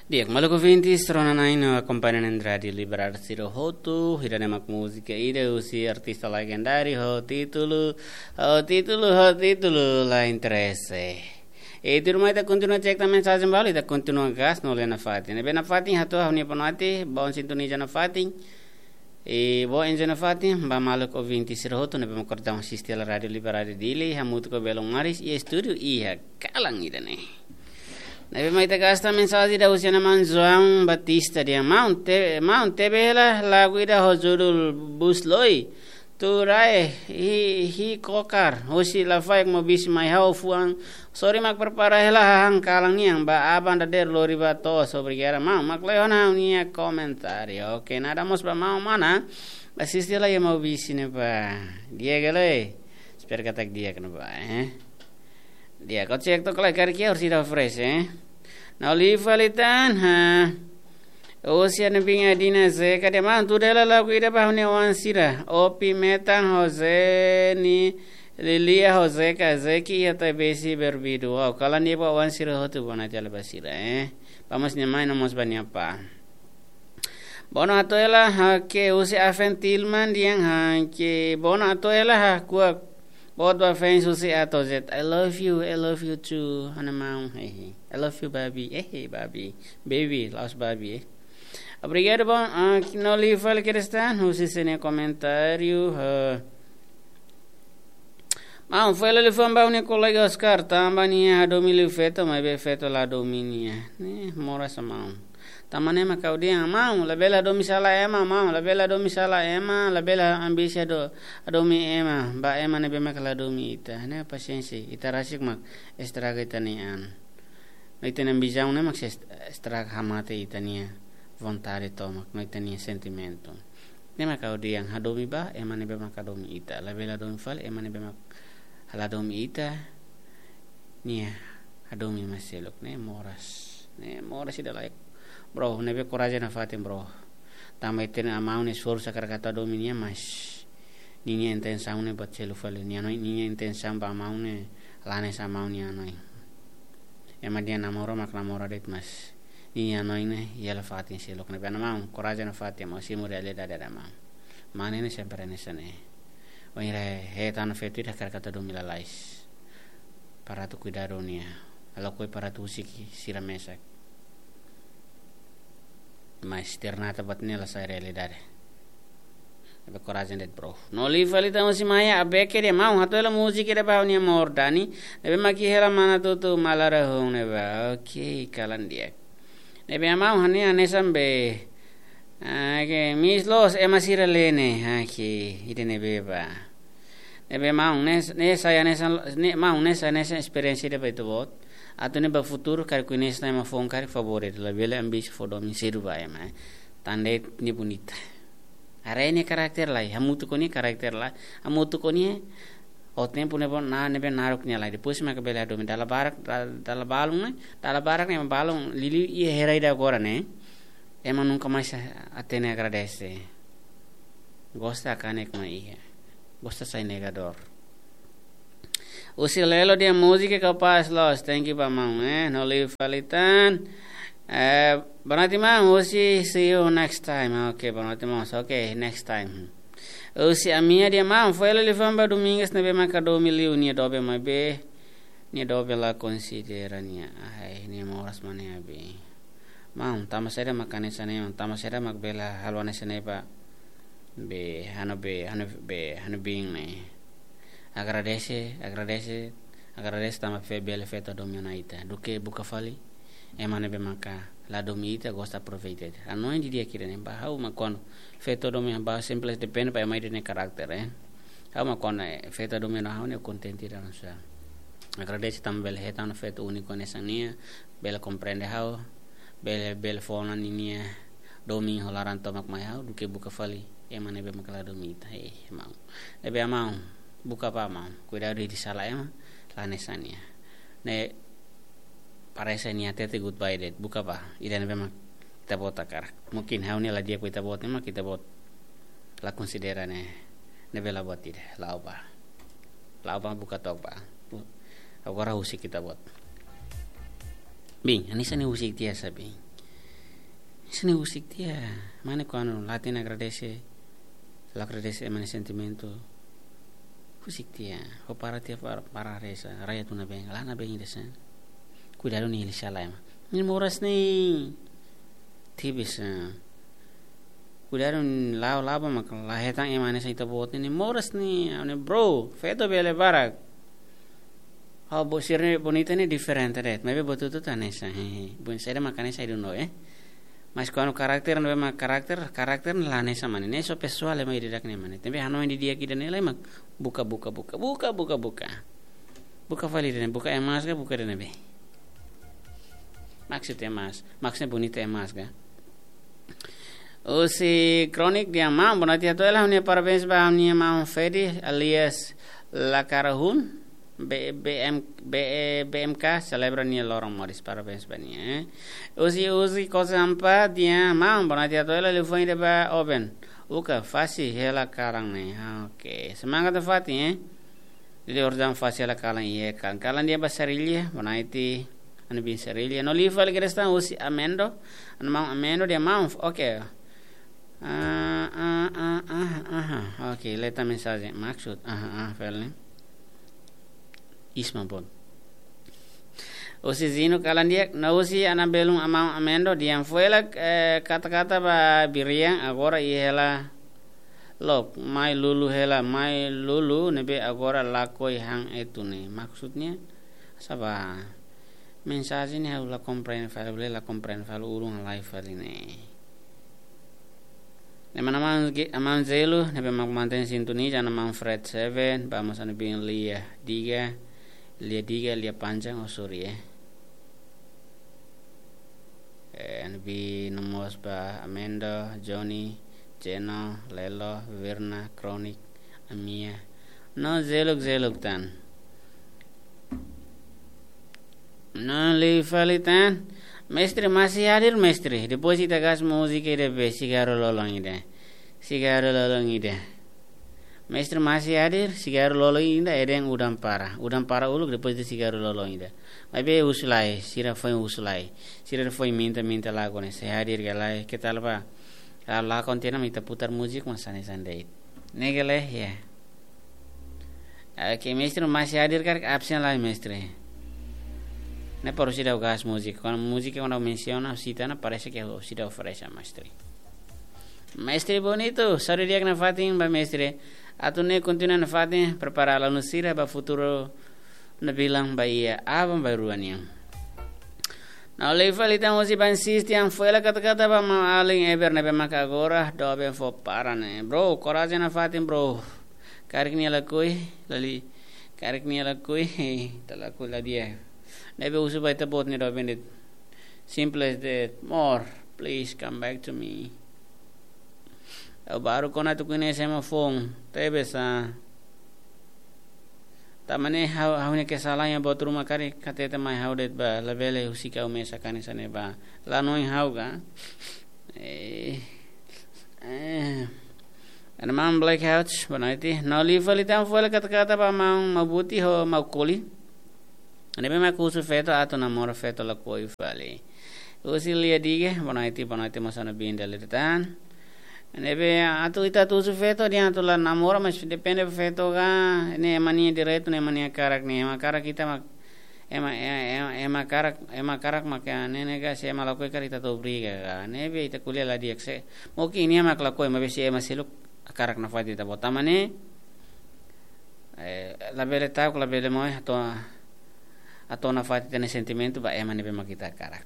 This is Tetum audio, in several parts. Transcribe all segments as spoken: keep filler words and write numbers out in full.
Di'ak, maluk ouvintes, rona-na'in no akompaña iha Rádiu Liberdade sira hotu, ida-ne'e mak múzika ida husi artista legendáriu ho títulu, ho títulu, ho títulu La Interese. E tuirmai ita kontinua cek tan mensajen balu, ita kontinua gas no lena fatin. Ne'ebé nafatin hato'o ha'u-nia boa noite, bom sintoniza nafatin. E bom enjoy nafatin ba maluk ouvintes sira hotu ne'ebé mak kordau asiste hela Rádiu Liberdade Dili, hamutuk ho belun maris iha estúdiu iha kalan ida-ne'e. Ne'ebé mak ita gas tan mensajen ida husi Ana Manzuan Batista dehan: Maun, te-, maun, tebe hela lagu ida ho judul Busloi. Turai, hi, hi kokar, husi Lafaek Mobis mai ha'u fuan. Sori mak prepara hela hahán kalan nian ba aban dadeer lori ba to'os, obrigada maun. Mak lehon ha'u-nia komentáriu. Oke, nada mós ba maun mana asiste hela iha Mobis ne'ebá. Di'ak ka lae? Espera katak di'ak ne'ebá, eh. Di'ak, kau cek to'ok lai karik iha orsida fresh, eh. Na'in-rua fali tan, ha. Husi Ana Binga Dina Zeka dehan: Maun, tuda hela lagu ida ba ha'u-nia oan sira. Opi Metan ho Zeni, Lilia ho Zeka, Zeki iha Taibesi Berbidu. Wow, kalan di'ak ba oan sira hotu, boa noite hela ba sira, eh. Ba mós nia mai no mós ba nia apá. Boa noite hela, ha, ke husi Afen Tilman dehan, ha, ke boa noite hela, ha, kuak. Boot ba fans husi A to Z. I love you, I love you too, Ana maun, hehe. I love you, Barbie, hehe, Barbie. Baby, la'ós Barbie, eh. Obrigadu, bom, ah, na'in-rua fali kedas tan, husi sira-nia komentáriu, ha. Maun, fó hela liafuan ba ha'u-nia kolega Oscar, tanba nia hadomi liu feto, maibé feto la hadomi nia. Ne'e, moras maun. Tanba ne'e mak ha'u dehan, maun, labele hadomi sala ema, maun, labele hadomi sala ema, labele ambisi hado-, hadomi ema, ba ema ne'ebé mak la hadomi ita. Ne'e pasiénsia, ita rasik mak estraga ita-nia an. No ita-nia ambisaun ne'e mak sei est-, estraga, hamate ita-nia vontade tomak, no ita-nia sentimentu. Ne'e mak ha'u dehan, hadomi ba ema ne'ebé mak hadomi ita. Labele hadomi fali ema ne'ebé mak la hadomi ita. Nia hadomi ema seluk, ne'e moras. Ne'e moras ida-ne'e. Bro, ne'ebé korajen nafatin, bro. Tanba ita-nia amau ne'e esforsu hakarak atu hadomi nia, mas ninia intensaun ne'e buat seluk fali. Nia hanoin, ninia intensaun ba amau ne'e la hanesan amau nia hanoin. Ema dehan namora mak namora de'it, mas ninia hanoin ne'e iha hela fatin seluk ne'ebá. Maun, korajen nafatin, maun, simu realidade ida maun. Mane ne'e sempre hanesan ne'e. Wainhira hetan feto ida hakarak atu hadomi lalais. Para atu kuidadu nia. Halo koi para atu husik sira mesak. Mas ternyata buat ne'e la sai realidade. Ne'ebé korajen de'it, bro. Na'in-rua fali tan husi Maya Abeke dehan: Maun, hato'o hela múzika ida ba ha'u-nia amór Dani. Ne'ebé mak iha hela Manatutu Malarahun ne'ebá. Oke, kalan di'ak. Ne'ebé maun, ha'u-nia hanesan be. Ah, ke, Miss Los, ema sira lee ne'e. Ah, ke, ida-ne'ebé ba. Ne'ebé maun, ne'e, ne'e sai hanesan, ne'e maun, ne'e sai hanesan esperiénsia ida ba ita-boot. Atu nune'e ba futuru, karik koñese ema foun karik favór, labele ambisi fó domin sedu ba ema, eh. Tan de'it nia bonita. Haree nia karakter lai, hamutuk ho nia karakter lai, hamutuk ho nia, ho tempu ne'ebé na, ne'ebé naruk nia lai. Depois mak bele hadomi. Dala barak, da-, dala balun ne'e, dala barak ne'e balun, liuliu iha era ida agora ne'e. Ema nunka mais hatene agradese. Gosta kanek mai iha. Gosta sai negadór. Husi Lelo dehan múzika kapás loos, thank you ba maun, eh, na'in-rua fali tan. Eh, boa noite maun, husi see you next time. Oke, boa noite maun, oke, next time. Husi Amia dehan maun, fó hela liafuan ba Domingas ne'ebé mak hadomi liu nia doben maibé nia doben la konsidera nia. Ai, nia moras mane abi. Maun, tanba saida mak hanesan ne'e, maun, tanba saida mak bele halo hanesan ne'e ba be, ha'u-nia be, ha'u-nia be, ha'u-nia biin ne'e. Agradese, agradese, agradese tanba fe-, bele feto hadomi ona ita. Duké buka fali ema ne'ebé maka la hadomi ita, gosta aproveita ita. Hanoin didi'ak ida-ne'e ba ha'u mak kuandu feto hadomi ba simples depende ba ema ida-ne'e karakter, eh. Ha'u mak kuandu, eh, feto hadomi ona ha'u ne'e kontente ida-ne'e sá. Agradese tanba bele hetan feto úniku hanesan nia, bele komprende ha'u, bele, bele fó ona ninia domin ho laran tomak mai ha'u, duké buka fali ema ne'ebé mak la hadomi ita. Eh, maun. Ne'ebé maun, buka bá maun. Kuidadu ita sala ema, la hanesan nia. Ne'e parese nia hatete goodbye de'it, buka bá. Ida ne'ebé mak ita-boot hakarak. Mungkin ha'u-nia la di'ak ba ita-boot, ne'e mak ita-boot la konsidera ne'e. Ne'ebé la buat ida, la'o bá. La'o bá buka took bá. Agora husik ita-boot. Biin, hanesan ne'e husik tiha sá biin. Sini husik tiha. Mane kuandu latin agradese, la agradese ema nia sentimentu. Husik tiha. Ho para tiha para, para reza, raya tuna beng, la na beng desa. Kuidadu nia hili sala ema. Nia moras ne'e tipis. Kuidadu nia la'o laba mak la hetan ema ne'e sai ta bot ne'e moras ne'e, ane bro, feto bele barak. Ha'u bo sira ne'e bonita ne'e diferente de'it. Maibé bo tutu ta hanesan, hehe. Bun, sede maka hanesan iduno, eh. Mas kuandu karakter, no ema karakter, karakter la hanesan mane. Ne'e só pesoál ema ida-idak ne'e mane. Tanba hanoin didi'ak ida ne'e lai mak buka, buka, buka, buka, buka, buka. Buka fali ida ne'e, buka emas ka, buka ida ne'ebé. Maksud emas, maksudnya bonita emas ka. Husi Kronik dehan maun, bonaiti hato'o hela ha'u-nia parabéns ba ha'u-nia maun Fedi alias Lakarahun, B-, B M, B-, B M K, selebra nia loron moris, parabéns ba nia, eh. Husi, husi Kosa Ampa dehan maun, bonaiti hato'o hela liafuan ida ba Oben. Uka, fase hela kalan ne'e. Ah, oke. Semangat nafatin, eh. Jadi orang fase hela kalan iha kalan. Kalan dehan ba Sarilha, bonaiti, anu bin Sarilha. No liu fali kedas tan husi Amendo, anu maun Amendo dehan maun, oke. Ah, ah, ah, ah, aha. Oke, leta mensajen. Maksud, aha, ah, fali. Isma bon. Husi Zinu kalan di'ak, no husi Ana Belun maun Amendo, dehan fó hela, eh, kata-kata ba Birian, agora iha hela look, mai lulu hela, mai lulu, ne'ebé agora lakohi han etu ne'e. Maksudnya, sá ba, mensajen ne'e ha'u la komprende fali, bele la komprende fali, ulun lai fali ne'e. Ne'e mana maun Ge-, maun Zelu, ne'ebé mak mantein sintonia, dehan maun Fred Seven, ba mós anu bin Lia Diga, Lia Diga, Lia Panjang, oh sorry, eh. Eh, anu bin no mós ba Amendo, Johnny, Jeno, Lelo, Verna, Kronik, Amia. No zeluk-zeluk tan. No liu fali tan. Mestre masih hadir, mestre. Depois ita gas múzika ida be, sigarru lolon ida. Sigarru lolon ida. Mestre masih hadir, sigarru lolon ida, eden udan para. Udan para uluk, depois de sigarru lolon ida. Maibé husu lai, sira foin husu lai. Sira foin minta, minta lagu ne'e, sei hadir ka lae, ke tal ba. Kalau la kontinua, ita putar múzika, mas hanesan de'it. Ne'e ka lae, ya. Oke, mestre masih hadir karik, absen lai, mestre. Ne'e para seidauk gas múzika. Kuandu múzika, kuandu mensiona, sita ona, parese ke seidauk oferese, mestre. Mestre bonita, saúde di'ak nafatin ba mestre. Atu ne'e kontinua nafatin, prepara alunu sira ba futuru ne'ebé lam ba iha aban-bainrua nian. No liu fali tan husi Bansis dehan fó hela kata-kata ba maun alin Eber ne'ebé maka agora doben fó para ne'e. Bro, korajen nafatin, bro. Karik nia lakohi, lali. Karik nia lakohi, ita lakohi la di'ak. Ne'ebé husu ba ita-boot nia doben de'it. Simple as that. More, please come back to me. Ha'u baru kona tuku ne'e sema phone. Tebe sa. Tanba ne'e ha'u, ha'u-nia kesalahan iha buat ruma karik hatete mai ha'u de'it ba, labele husik ha'u mesak hanesan ne'e ba. La hanoin ha'u ka. Eh. Eh. Ana maun Blackout, bonaiti. No liu fali tan fó hela kata-kata ba maun Mabuti ho maun Koli. Ne'ebé mak husu feto atu namora, feto lakohi fali. Husi Lia Diga, bonaiti, bonaiti mós anu bin Dali tan. Ne'ebé atu ita atu husu feto dehan atu la namora, mas depende feto ka, ne'e ema nia direitu, ne'e ema nia hakarak, ne'e ema hakarak ita mak, ema, ema, ema, ema hakarak, ema hakarak mak ne'e, ne'e ka, se ema lakohi karik ita atu obriga ka. Ne'ebé ita ko'alia la di'ak se. Mungkin nia mak lakohi, maibé se ema seluk hakarak nafatin ita-boot. Tanba ne'e, eh, labele ta'uk, labele moe, atu, atu nafatin ita-nia sentimentu ba ema ne'ebé mak ita hakarak.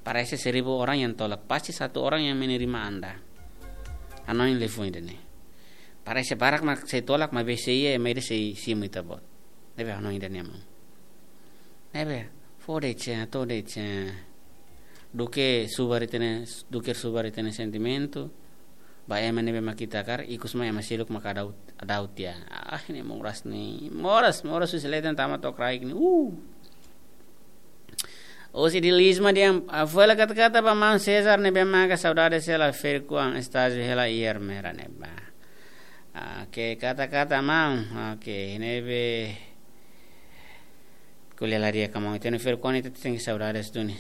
Parese seribu orang yang tolak, pasti satu orang yang menerima Anda. Hanoin liafuan ida-ne'e. Parese barak mak sei tolak, maibé sei iha, maibé sei simu ita-boot. Ne'ebé hanoin ida-ne'e maun. Ne'ebé, fó de'it, atu de'it. Duké subar ita-nia, duké subar ita-nia sentimentu. Ba ema ne'ebé mak ita hakarak, ikus mai ema seluk mak adau, adau tiha. Ah, ne'e moras ne'e. Moras, moras husi leten tama to'o kraik ne'e. Uh. Husi Dilisma dehan, ah, fó hela kata-kata ba maun César ne'ebé maka saudade sela ferkuan estágio hela ier mera ne'ebá. Ah, ke kata-kata maun, oke, ne'ebé ko'alia la di'ak ka maun, ita-nia ferkuan ita tenke saudades duni.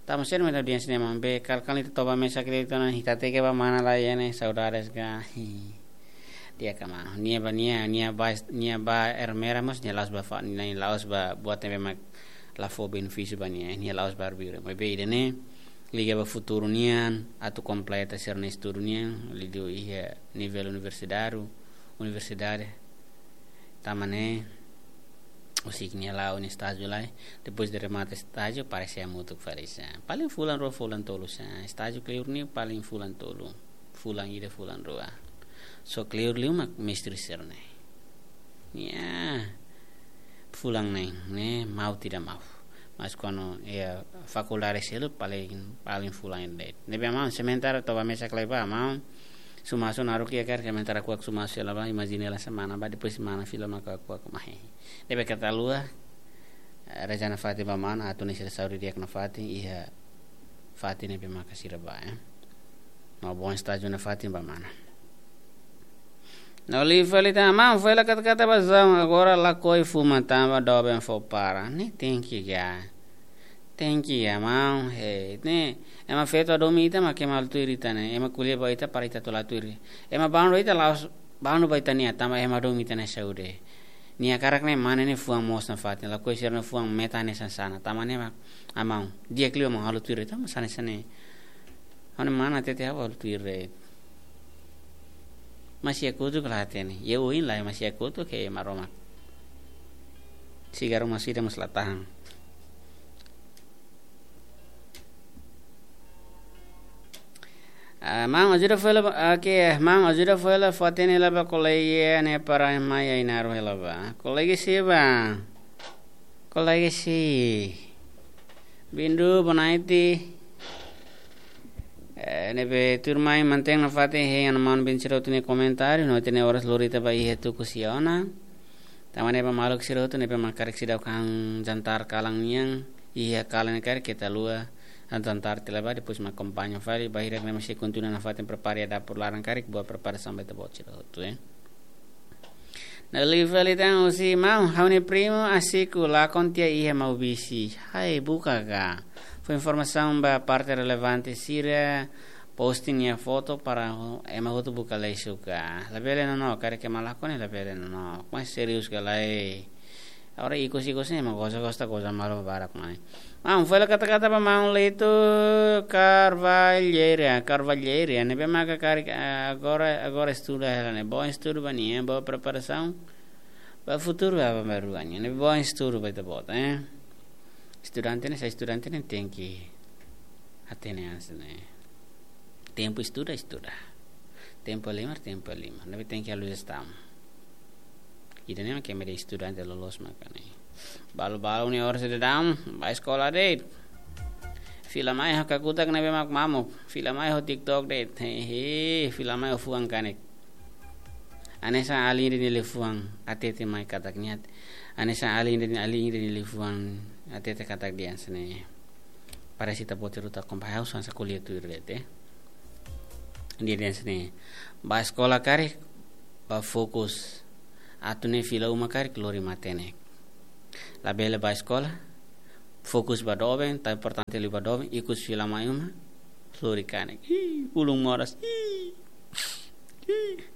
Tama ser meta audiénsia ne'e maun, be kal kal ita toba mesak ita ona, ita hateke ba mana lai ne'e, saudades ka. Di'ak ka maun. Nia ba, nia, nia ba, nia ba Ermera mós, nia la'ós ba fa, nia la'ós ba buat ne'ebé mak la fó benefísiu ba nia, nia la'ós ba arbiru. Maibé ida-ne'e liga ba futuru nian, atu kompleta sira-nia estudu nian, liuliu iha nivel universitáriu, universidade. Tanba ne'e, husik nia la'o nia estájiu lai, depois de remata estájiu, para sei hamutuk fali sá. Paling fulan rua, fulan tolu sá. Estájiu kleur ne'e paling fulan tolu. Fulan ida, fulan rua. Só kleur liu mak mestre sira-ne'e. Ya. Fulan neen, ne'e mau tidak mau. Mas kuandu iha fakuldade seluk paling, paling fulan ida de'it. Ne'ebé maun, sementara toba mesak lai ba maun. Sumasu naruk iha karik, sementara kuak sumasu hela ba, imajina hela semana ba, depois semana fila maka kuak mai. Ne'ebé keta haluha, eh, reza nafatin ba mana, atu nia sira saúde di'ak nafatin, iha fatin ne'ebé maka sira ba, eh. No bom estájiu nafatin ba mana. No liu fali tan, maun, foin hela katak-katak ba João, agora lakohi fuma tanba doben fó para. Ne'e tenke ga. Tenke ga, maun, he. Ne'e, ema feto hadomi ita mak ema halo tuir ita ne'e. Ema ko'alia ba ita para ita atu halo tuir. Ema bandu ita la'ós bandu ba ita-nia, tanba ema hadomi ita-nia saúde. Nia hakarak ne'e mane ne'e fuan moos nafatin, lakohi sira-nia fuan meta ne'e sansana. Tanba ne'e mak, ah, maun, di'ak liu maun halo tuir, tanba sá ne'e, sá ne'e. Ha'u-nia mana hatete ha'u halo tuir de'it. Masi kotuk la hatene. Iha oin lai masi kotuk ke Maromak. Sigarru mós ida mós la tahan. Ah, maun, ajuda foin hela, oke, maun, ajuda foin hela fó-hatene hela ba kolega ne'e para mai ai naru hela ba. Kolega sé ba? Kolega sé? Bindu, boa noite. Eh, ne'ebé tuirmai mantein nafatin hein ha'u-nia maun Bin sira hotu nia komentáriu, no ita-nia oras lori ita ba iha tuku sia ona. Tanba ne'e ba maluk sira hotu ne'ebé mak karik seidauk han jantar kalan nian, iha kalan ne'e karik keta haluha han jantar tiha lai ba, depois mak akompaña fali, bainhira ne'e mak sei kontinua nafatin prepara iha dapur laran karik, boa preparasaun ba ita-boot sira hotu, eh. No liu fali tan husi maun, ha'u-nia primu Asiku lakon tiha iha Maubisse. Hai, buka ka. Fó informasaun ba parte relevante sira, posting nia foto para ema hotu buka lesu ka. Labele nonook, karik ema lakon ne'e labele nonook. Mas serius ka lae. Agora ikus-ikus ne'e ema goza, gosta goza malu barak mai. Maun, foin hela katak-katak ba maun Lito Carvalheira, Carvalheira, ne'ebé maka karik, ah, agora, agora estuda hela ne'e. Bom estudu ba nia, eh, boa preparasaun ba futuru ba, ba, ba rua nian. Ne'ebé bom estudu ba ita-boot, eh. Estudante ne'e, sá estudante ne'e tenke hatene hanesan ne'e. Tempu estuda, estuda. Tempu halimar, tempu halimar. Ne'ebé tenke halo jestaun. Ida-ne'e mak ema ida estudante loloos maka ne'e. Balu-balu nia oras daudaun, ba eskola de'it. Fila mai ho kakutak ne'ebé mak mamuk. Fila mai ho TikTok de'it. Hehe, fila mai ho fuan kanek. Hanesan alin ida nia liafuan hatete mai katak nia. Hanesan alin ida, alin ida nia liafuan hatete katak dehan hanesan ne'e. Para ita-boot hotu akompaña, ha'u hanesan ko'alia tuir de'it. Nia dehan hanesan ne'e. Ba eskola karik, ba fokus. Atu nune'e fila uma karik lori matenek. Labele ba eskola, fokus ba doben, tan importante liu ba doben, ikus fila mai uma, lori kanek. Ih, ulun moras. Ih. Ih.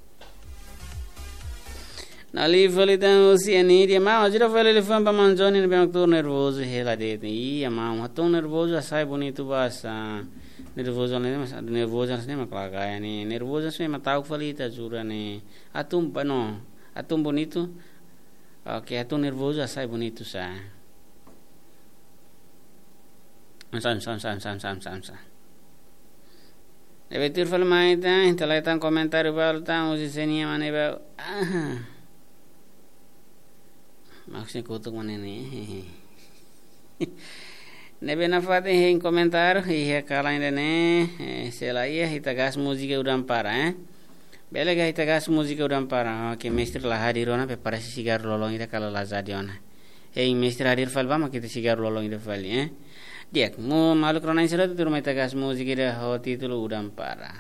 No liu fali tan husi Anidia, maun, ajuda foin hela liafuan ba maun Johnny ne'ebé mak tuur nervozu hela de'it. Iya, maun, hatún nervozu hasai bonitu ba sá. Nervozu ne'e mas, nervozu ne'e mak la gaya ne'e. Nervozu ne'e mak ta'uk fali ita jura ne'e. Hatún ba no, hatún bonitu. Oke, hatún nervozu hasai bonitu sá. Sam, sam, sam. Ne'ebé tuir fali mai tan, ita lai tan komentáriu balu tan, husi sé nian mak ne'ebé. Aha. Maksudnya kutuk mana ini? Ne'ebé nafatin hein komentáriu, iha kalan ida-ne'e, eh, sela iha ita gas múzika udan para, eh. Bele ka ita gas múzika udan para, oke, mestre la hadir ona, prepara sigarru lolon ida kala lazadi ona. Hein mestre hadir fali ba mak ita sigarru lolon ida fali, eh. Di'ak, maun maluk rona sira tuur mai ita gas múzika ida ho títulu Udan Para.